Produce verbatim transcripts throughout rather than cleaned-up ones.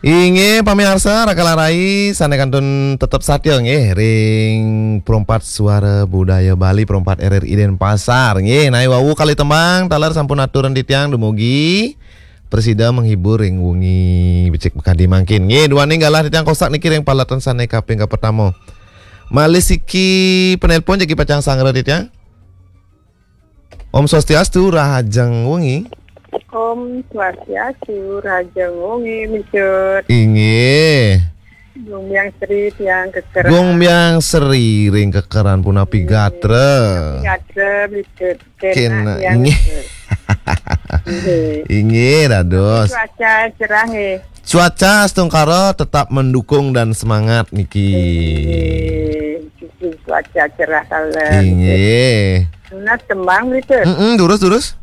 Inggih pamiarsa, raka lan rai sané kantun tetep satia nggih ring Perempat Suara Budaya Bali, Perempat R R I Denpasar. Nggih, naé wau kalih tembang taler sampun aturan titiang, dumugi prasida menghibur ring wengi becik makadi mangkin. Nggih, duaning galah titiang kostak niki ring paletan sané kaping kapertama. Malih siki penelpon jagi pacang sanggra titiang. Om Swastiastu, rahajeng wengi. Om Swastiastu, rahajeng wengi, Micut. Inggih. Gumbyang Sri tiang kekeran. Gumbyang Sri ring kekeran punapi gatra. Gatra, Micut. Kena, inggih. Inggih. Inggih, dados. Cuaca cerah nggih. Cuaca astungkara tetap mendukung dan semangat niki. Inggih, cuaca cerah taler. Inggih. Nunas tembang, Micut. Mm-mm, durus, durus.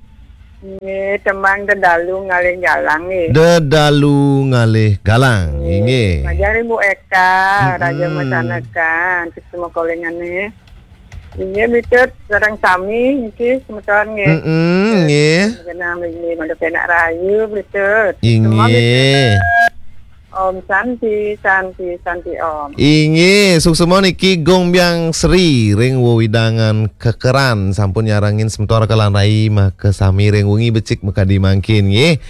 Nggih, tembang Dedalu Ngalih Galang nggih. Dedalu Ngalih Galang, inggih. Majeng ring Bu Eka, mm-mm. Raja Masanakan, semua kolingané. Inggih, Micut, sareng sami niki semeton nggih. Mm-mm, nggih. Kenang nggih, mangda penak rahayu, Micut. Inggih. Om Santi, Santi, Santi Om. Inggih, suksma niki Gumbyang Sri ring wewidangan Kekeran sampun nyarengin semeton raka lan rai makasami ring wengi becik makadi mangkin nggih.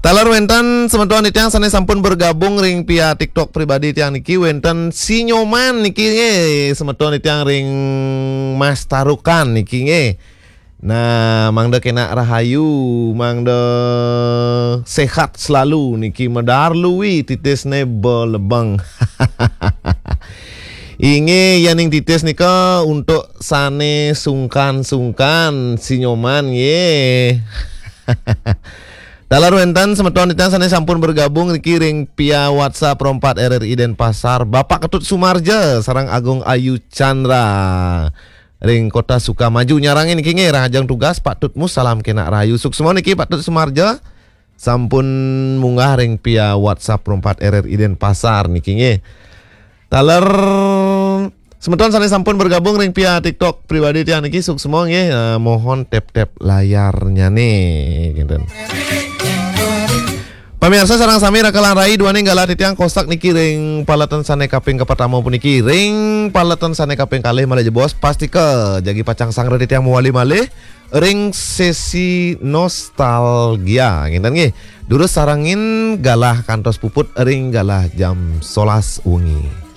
Taler wénten semeton titiang sané sampun bergabung ring pihak TikTok pribadi tiang niki, wénten Si Nyoman niki nggih, semeton titiang ring Mas Tarukan niki nggih. Nah, mangda kenak rahayu, mangda sehat selalu niki, medar luwi titisné belebeng. Inggih, yéning titis nika untuk sané sungkan-sungkan Si Nyoman nggih. Taler wénten semeton titiang sané sampun bergabung niki ring via WhatsApp Perempat R R I Denpasar, Bapak Ketut Sumarja sareng Agung Ayu Chandra ring Kota Sukamaju nyarengin niki nggih, rahajeng tugas Pak Tutmus, salam kenak rahayu. Suksma niki Pak Tut Sumarja sampun munggah ring via WhatsApp Perempat R R I Denpasar niki nggih. Taler semeton sané sampun bergabung ring via TikTok pribadi tiang niki, suksma nggih, eh, mohon tep-tep layarnyané, kinten. Pamiarsa sareng sami raka lan rai, duaning galah titiang kostak niki ring paletan sané kaping kapertama puniki, ring paletan sané kaping kalih malih jebos, pastika jagi pacang sanggra titiang mawali malih ring sesi nostalgia, kinten nggih. Durus sarengin galah kantos puput ring galah jam solas wengi.